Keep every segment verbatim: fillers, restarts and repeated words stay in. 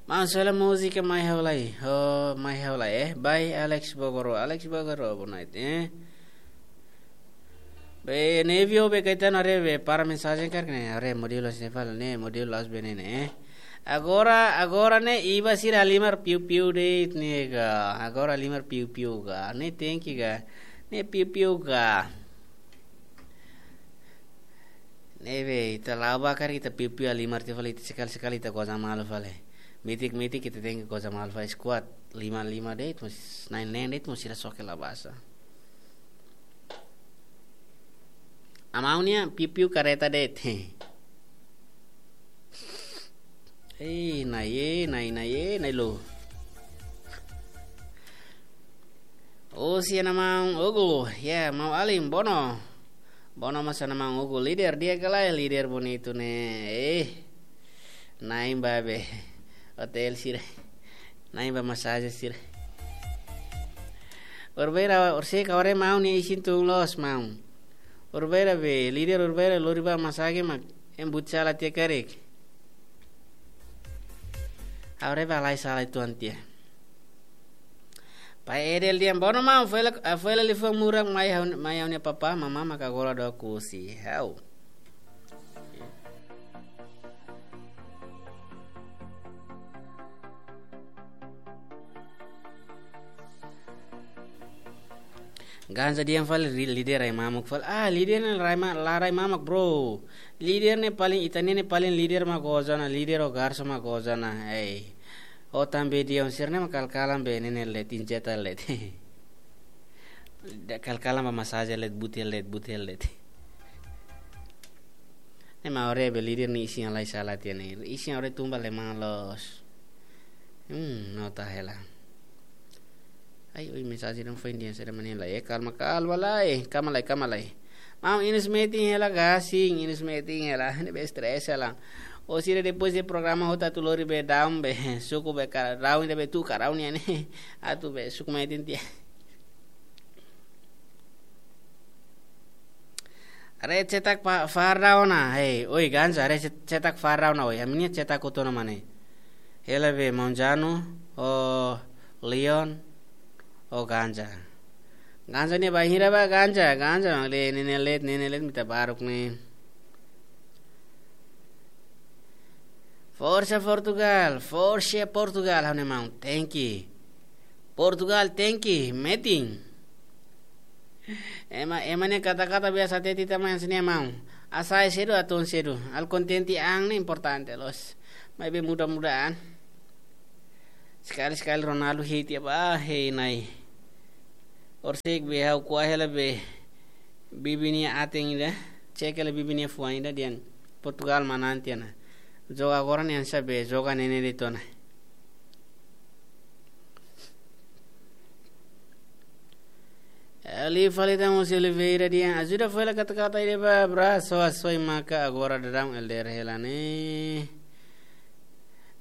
Maun, sela múzika Mai Ha'u Lai. Oh, Mai Ha'u Lai, eh. By Alex Bogoro. Alex Bogoro, boa noite, eh. Be, Nevio, be, Caetano, haree, be, para mensajen karik ne'e, haree, modelo se fala, ne'e, modelo as be ne'e, ne'e, eh. Agora, agora ne'e, iba sira halimar piu-piu de'it ne'e ka. Agora halimar piu-piu ka. Ne'e tenke ka. Ne'e piu-piu ka. Ne'ebé, ita la'o ba karik ita piu-piu halimar tiha fali, ita sekali-sekali ita goza malu fali. Mitik-mitik ita tenke goza malu fali. Skuad lima-lima de'it, mós na'in-neen de'it, mós sira soke la basa. Amaun nia piu-piu kareta de'it. Eh, nai, eh, nai, nai, eh, nai lo. Oh, si ana maun Ugu, ya, maun Alim, Bono. Bono mós ana maun Ugu, líder di'ak ka lae, líder bonitu ne'e. Eh, na'in ba be hotel sira. Na'in ba masajen sira. Urbeira, urse ka ore maun nia isin tun loos maun. Urbeira be, líder Urbeira lori ba masajen mak embut sala tiha karik. Aure ba lai sala tuan tiha. Pai Edel dehan, Bono maun, foin hela, ah, foin hela liafuan murak mai ha'u, mai ha'u-nia papá, mamá maka gola do kusi. Hau. Ganja dehan fali ri-, líder rai mamuk fali. Ah, líder ne'e rai ma-, la rai mamak, bro. Líder ne'e paling, ita ne'e ne'e paling líder mak goza ona, líder ho garso mak goza ona. Ei. Ho tan be dehan sira-ne'e mak kal-kalan be ne'e ne'e let, injeta let. Da kal-kalan ba masajen let, buti let, buti let. Ne'e mak ore be líder nia isin halai sala tiha ne'e. Isin ore tun ba leman loos. Hmm, nota hela. Ai, oi, mensajen ne'e foin dehan sira manela. Eh, kalma, kalma lai. Kalma lai, kalma lai. Maun, inus metin hela gasing, inus metin hela. Ne'ebé stress hela. Ó sira depois de programa hotu atu lori be daun be. Suku be kara daun, ida be tu kara daun nian ne'e. Atu be suku metin tiha. Haree cetak pa-, far daun ona, hei, oi, ganja, haree cet-, cetak far daun ona, oi, ami-nia cetak hotu ona mane. Hela be maun Janu, o Leon, o ganja. Ganja ne'e bainhira ba ganja, ganja, mak le, ne'e ne'e let, ne'e ne'e let, mita baruk ne'e. Forsa Portugal, forsa Portugal, ha'u-nia maun, tenke. Portugal tenke, metin. Ema, ema ne'e kata-kata biasa teti tama yang sini maun. Asai sedu atun sedu. Al kontente an ne'e importante loos. Maibé mudah-mudahan. Sekali-sekali Ronaldo hei tiha ba, hei nai. Orsik be ha'u ko'a hela be. Bibi nia aten ida. Cek hela bibi nia fuan ida dehan Portugal manán tiha ona. Joga agora ne'e hanesan be, joga ne'e ne'e de'it ona. Eli Falita Mose Oliveira dehan ajuda foin hela kata-kata ida ba abraço, asoy maka agora daudaun L D R hela ne'e.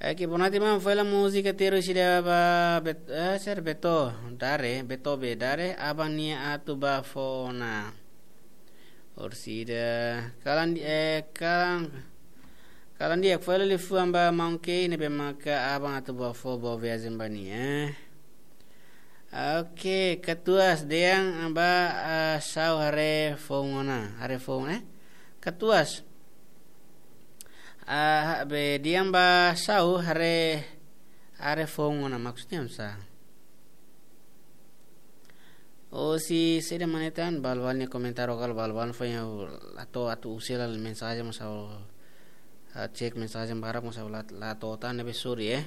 Eki bonati maun foin hela múzika terus ida ba bet-, eh, ser Beto, Dare, Beto be, Dare, aban nia atu ba fó ona. Orsida, kalan di-, eh, kalan, kalan di'ak foin hela liafuan ba maun Kei ne'ebé maka aban atu ba fó boa viajen ba nia, eh. Oke, katuas dehan ba, ah, Sau haree foun ona, haree foun, eh? Katuas. Ah, ha-, be dehan ba Sau haree, haree foun ona maksudnya sa. Ó sira, sira manatan, bal-bal nia komentar lokal bal-bal foin ha'u la to'o atu usil hela mensajen mós ha'u, ah, cek mensajen barak mós ha'u la, la to'o tan ne'ebé sorry, eh.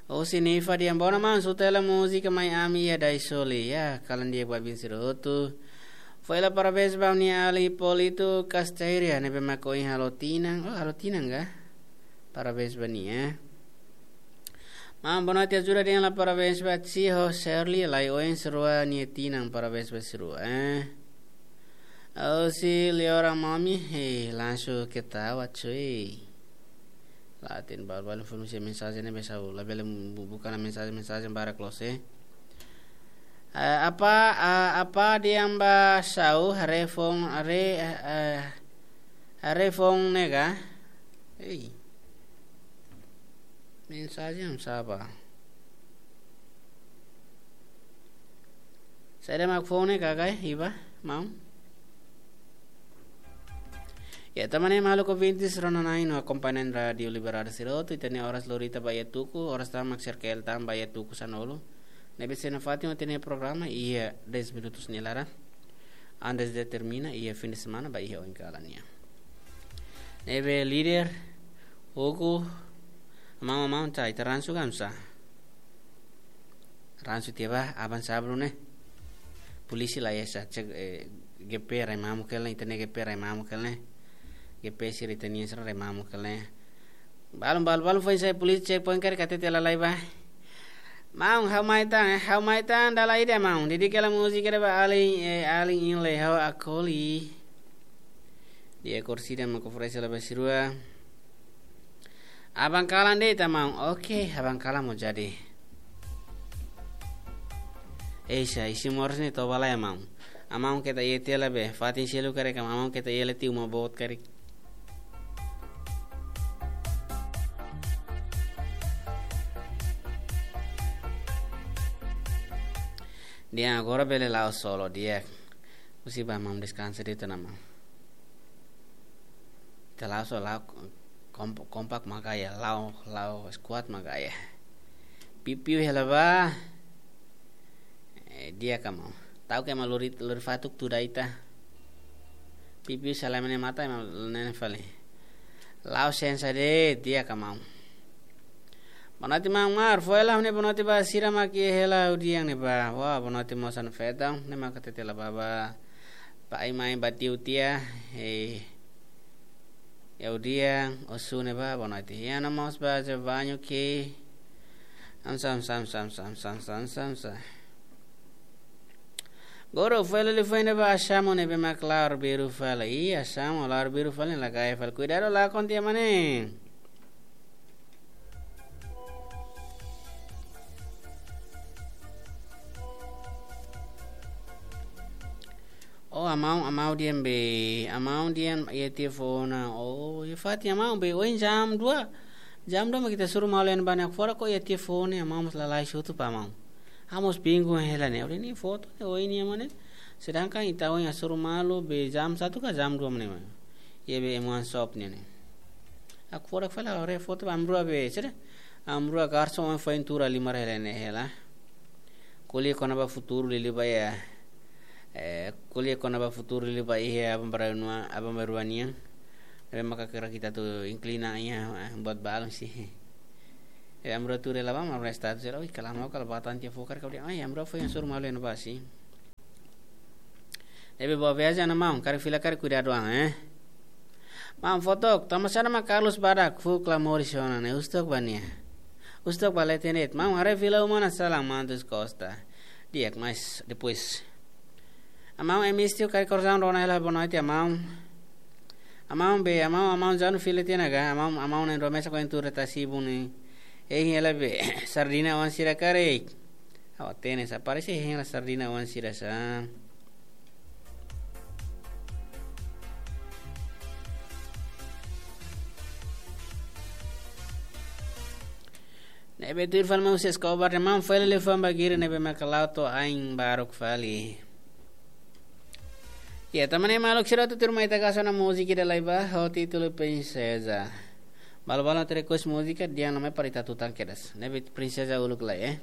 Ó sira Nifa dehan boa ona maun, suta hela múzika Mai Ami iha Daisoli. Ya, kalan di'ak ba bin sira hotu. Foin hela parabéns ba nia alin Polito Casteira, ne'ebé mak ohin halo tinan. Oh, halo tinan ka? Parabéns ba nia. Maun, boa noite, ajuda dehan hela parabéns ba Tiho Shirley, lai oin sira rua nia tinan, parabéns ba sira rua, eh. Ó sira Leora Mami, hei, langsung ketawa, cuy. Laten bal-bal informasi mensajen ne'ebé Sau, labele bu-, buka ona mensajen, mensajen barak loos, eh. Eh, apa, ah, apa dehan ba Sau, haree foun, haree, eh, eh, haree foun ne'e ka? Hei. Mensajen sapa? Saida mak fó ne'e kakai, iba, maun? Ya, tanba ne'e maluk ouvintes rona-na'in no akompañante Rádiu Liberdade sira hotu, ita-nia oras lorita ba iha tuku, oras tan mak serkel tan ba iha tuku sanulu. Ne'ebé se nafatin ita-nia programa iha dez minutos nia laran. Antes de termina, iha fim de semana ba iha oin kalan nian. Ne'ebé líder, Hugo, maun, maun, ta, ita ransu ka oinsá? Ransu tiha ba, aban sábadu ne'e. Polísia la iha sá, cek, eh, G P rai mamuk hela ne'e, ita-nia G P rai mamuk hela ne'e. G P sira ita-nian sira rai mamuk hela ne'e. Balun, balun, balun foin sai polísia checkpoint karik hatete lalai ba. Maun, ha'u mai tan, eh, ha'u mai tan, dala ida maun. Dedika hela múzika ida ba alin, eh, alin inle ha'u akoli. Di'ak, korsida mak oferese la ba sirua. Aban kalan de'it maun. Oke, aban kalan mós jadi. Eixa, isi moris ne'e toba lai maun. Maun keta iha tiha la be. Fatin seluk karik maun keta iha la tiha uma boot karik. Di'ak, agora bele la'o solo, di'ak. Husi ba maun deskansa de'it ona maun. Ita la'o só la'o komp-, kompak mak iha, la'o, la'o squad mak iha. Pipiu hela ba. Eh, di'ak ka maun. Ta'uk ema lori, lori fatuk tuda ita. Pipiu sala mene mata ema nene fali. La'o sensa de'it, di'ak ka maun. Boa noite maun Mar, foin hela ne'e boa noite ba sira mak iha hela udiang ne'e ba. Wah, boa noite mós anu fetang, ne'e mak hatete la ba ba. Ba ai mai ba tiu tiha, eh, iha udiang, osu ne'e ba, boa noite. Iha na mós ba je banyu ke. Am sam, sam, sam, sam, sam, sam, sam, sam. Goro, foin hela liu foin ne'e ba Asamo ne'ebé mak la'o arbiru fali. Ih, Asamo la'o arbiru fali, la kae fali. Kuidadu lakon tiha mane. Oh, amau, amau di'ak be, amau di'ak iha tiha fó ona. Oh, iha fatin amau be, ohin jam dua. Jam dua mak ita hasoru malu iha ne'ebá ne'e, agora ko iha tiha fó ona, amau mós lalais hotu ba amau. Ha'u mós bingung hela ne'e, ha'u dehan nia foto ne'e ohin nian mane. Sedangkan ita ohin hasoru malu be jam satu ka jam dua mane. Iha be M one shop nian ne'e. Agora fala ore foto ba amrua be, sira. Amrua garson ohin foin tuur halimar hela ne'e hela. Ko'alia kona-ba futuru liuliu ba iha. Eh, ko'alia kona-ba futuru liuliu ba iha aban-bainrua, aban-bainrua nian. Ne'ebé maka kira kita tu inklina iha, eh, buat balun sih. Eh, amrua tuur hela ba, amrua status hela, oi, kalan mau kala batan tiha fó karik, kau dia, ai, amrua foin hasoru malu iha ne'ebá sih. Ne'ebé boa viajen ona maun, karik fila karik kuidadu an, eh. Maun foto, tama sana ma Carlos badak, fó klamori sona ne'e, husu tok ba nia. Husu tok ba leten de'it, maun haree fila uma ona salam Mantus Costa. Di'ak mais, depois. Amau M S T karik korzaun rona hela boa noite amau. Amau be, amau, amau janu fila tiha ona ka, amau, amau ne'e rua mesak ohin tuur tasi bun ne'e. Eh, hela be, sardina oan sira karik. Ha'u hatene sá, parese hein la sardina oan sira sá. Ne'ebé tuir fali maun Sesko Obar ne'e maun fali le famba giri ne'ebé maka la'o to'o ain baruk fali. Ya, tanba ne'e maluk sira tutur mai ita hasoru ona múzika ida lai ba, ho títulu Prinseza. Balu-balu atu request múzika, dehan namai para ita tutan kedas. Ne'ebé Prinseza uluk lai, eh.